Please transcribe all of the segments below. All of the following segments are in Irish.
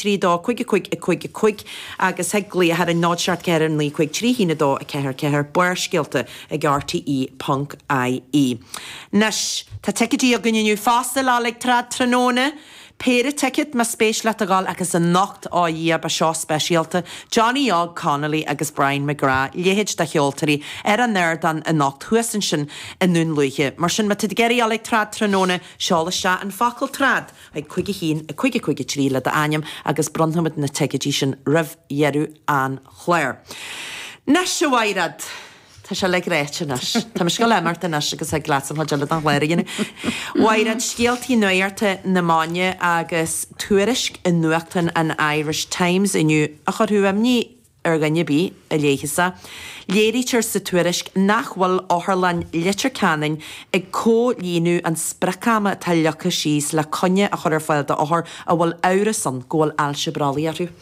5 3 2 5 5 5 5 agus thig glaoch ar an 0 7 4 9 5 3 1 2 4 4 Barrscéalta ag rte ponc ie. Anois, tá ticéidí againn inniu fosta le dhul ag trad tráthnóna. Péire ticéad más spéis leat a dhul agus anocht, ó a Dhia, beidh seó speisialta, Johnny Óg Connolly agus Brian McGrath, leithéid de cheoltóirí, ar an ardán anocht thuas ansin i nDún Lúiche. Mar sin, má tá tú ag iarraidh a dhul ag trad tráthnóna, seol isteach an focal trad chuig 5 1 5 5 3 le d'ainm agus bronnfaimid na ticéidí sin roimh dheireadh an chláir. Anois, a Mhaighread! Tá sé uilig ráite anois. Tá mise ag dul a imeacht anois agus thig leatsa an chuid eile den chlár a dhéanamh. Mhaighread, scéaltaí nuachta na maidine agus tuairisc i nuachtán an Irish Times inniu a chuirfeadh imní ar dhuine ar bith a léifeas é. Léirítear sa tuairisc nach bhfuil Otharlann Leitir Ceanainn ag comhlíonadh an sprioc-ama atá leagtha síos le coinne a chur ar fáil d'othair a bhfuil amhras ann go bhfuil ailse brollaigh orthu.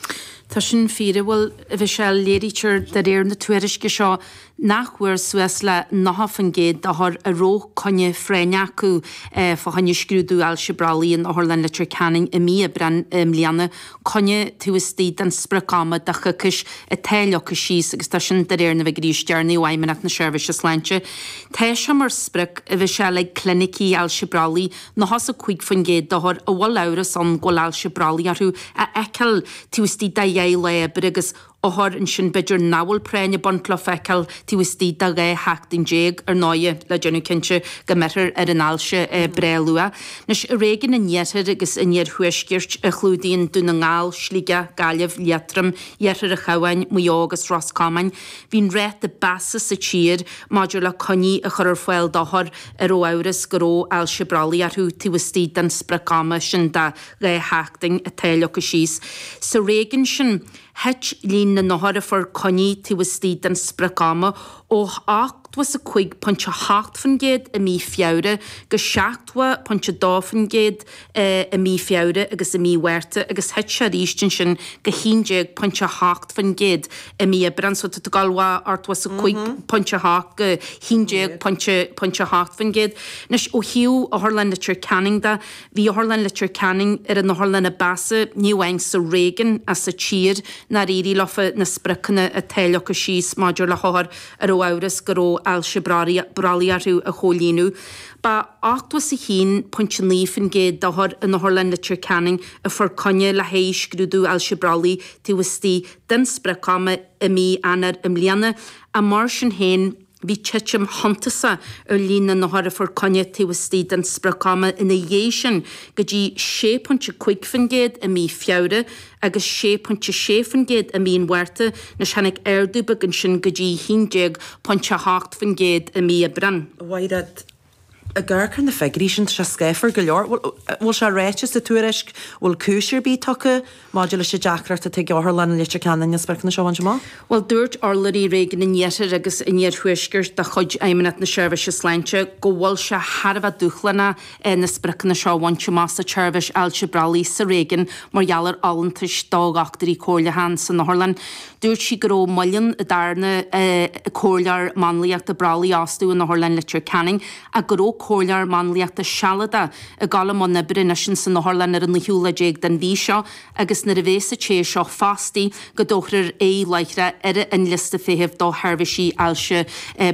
Tá sin fíor, a bhuel, a Mhichelle, léirítear de réir na tuairisce seo nach bhfuair suas le 90% d'othair a raibh coinne phráinneach acu fá choinne scrúdú ailse brollaigh in Otharlann Leitir Ceanainn i mí Aibreáin i mbliana coinne taobh istigh den sprioc-ama de choicís atá leagtha síos agus tá sin de réir na bhfigiúirí is deireanaí ó Fheidhmeannacht na Seirbhíse Sláinte. Tá sé mar sprioc, a Mhichelle, ag clinicí ailse brollaigh 95% d'othair a bhfuil amhras ann go bhfuil ailse brollaigh orthu a fheiceáil taobh istigh de dheich lá oibre agus othair ansin b'fhéidir nach bhfuil práinn ag baint leo a fheiceáil taobh istigh de 12 sheachtain, ar ndóighe, le déanamh cinnte go mbeirthear ar an ailse breá luath. Anois, i réigiún an Iarthair agus an Iarthuaiscirt, a chlúdaíonn Dún na nGall, Sligeach, Gaillimh, Liatroim, Iarthar an Chabháin, Maigh Eo agus Ros Comáin, bhí an ráta ba mheasa sa tír maidir le coinní a chur ar fáil d'othair a raibh amhras go raibh ailse brollaigh orthu taobh istigh den sprioc-ama sin de 2 sheachtain atá leagtha síos. Sa réigiún sin, thit líon na n-othar a fuair coinní taobh istigh den sprioc-ama ó 85.8% i mí Feabhra go 70.2% i mí Feabhra agus i mí Mhárta agus thit sé arís ansin go 11.8% i mí Aibreáin. So tá tú ag dul ó 85.8 go 11.8%. Anois ó thaobh Otharlann Leitir Ceanainn de, bhí Otharlann Leitir Ceanainn ar an otharlann ab mheasa, ní amháin sa réigiún ach sa tír, nár éirigh leofa na spriocanna atá leagtha síos maidir le hothair a raibh amhras go raibh ailse brollaigh orthu a chomhlíonadh. Ba 81.9% d'othair in Otharlann Leitir Ceanainn a fuair coinne le haghaidh scrúdú ailse brollaigh taobh istigh den sprioc-ama i mí Eanáir i mbliana, ach mar sin féin, bhí titim shuntasach ar líon na n-othar a fuair coinne taobh istigh den sprioc-ama ina dhiaidh sin go dtí 6.5% i mí Feabhra agus 6.6% i mí an Mhárta, anois tháinig ardú beag ansin go dtí 11.8% i mí Aibreáin. Mhaighread, ag amharc ar na figiúirí sin, tá sé scáfar go leor. Bhfuil sé ráite sa tuairisc, bhfuil cúis ar bith tugtha maidir leis an deacracht atá ag Otharlann Leitir Ceanainn na spriocanna seo a bhaint amach? Bhuel, dúirt urlabhraí Réigiún an Iarthair agus an Iarthuaiscirt de chuid Fheidhmeannacht na Seirbhíse Sláinte go bhfuil sé thar a bheith dúshlánach na spriocanna seo a bhaint amach sa tseirbhís ailse brollaigh sa réigiún mar gheall ar fholúntais do dhochtúirí comhairleacha san otharlann. Dúirt sí go raibh moill an darna comhairleoir máinliachta brollaigh a fhostú in Otharlann Leitir Ceanainn ach go raibh comhairleoir máinliachta sealadach ag dul i mbun oibre anois in san otharlann ar an naoú lá déag den mhí seo agus nuair a bhéas an té seo fostaithe go dtabharfar aghaidh láithreach ar an liosta feithimh do sheirbhísí ailse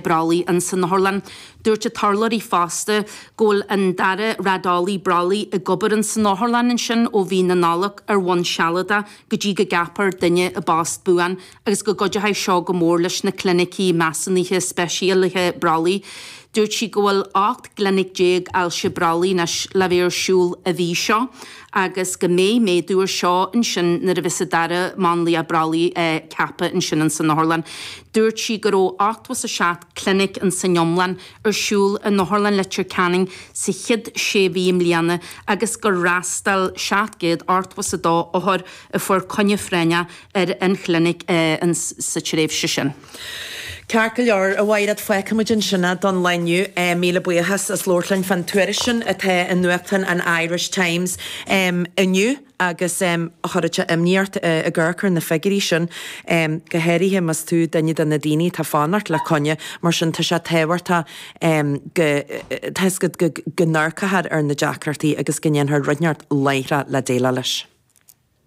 brollaigh in san otharlann. Dúirt an t-urlabhraí fosta go bhfuil an dara raideolaí brollaigh ag obair in san otharlann ansin ó mhí na Nollag ar bhonn sealadach go dtí go gceapfar duine i bpost buan agus go gcuideoidh seo go mór leis na clinicí measúnaithe speisialaithe brollaigh. Dúirt sí go bhfuil 18 gclinic ailse brollaigh anois le bheith ar siúl an mhí seo agus go mbeidh méadú ar seo ansin nuair a bheas an dara máinlia brollaigh ceaptha ansin in san otharlann. Dúirt sí go raibh 87 clinic in san iomlán ar siúl in Otharlann Leitir Ceanainn sa chéad sé mhí i mbliana agus gur fhreastail 782 othar a fuair coinne phráinneach ar an chlinic sa tréimhse sin. Ceart go leor, a Mhaighread, fágfaimid ansin é don lá inniu. Míle buíochas as labhairt linn fán tuairisc sin atá i nuachtán an Irish Times inniu. agus chuirfeadh sé imní ort ag amharc ar na figiúirí sin, go háirithe más tú duine de na daoine atá ag fanacht le coinne, mar sin tá sé tábhachtach go, tá 'fhios agat, go n-amharcfar ar na deacrachtaí agus go ndéanfar rud inteacht láithreach le déileáil leis.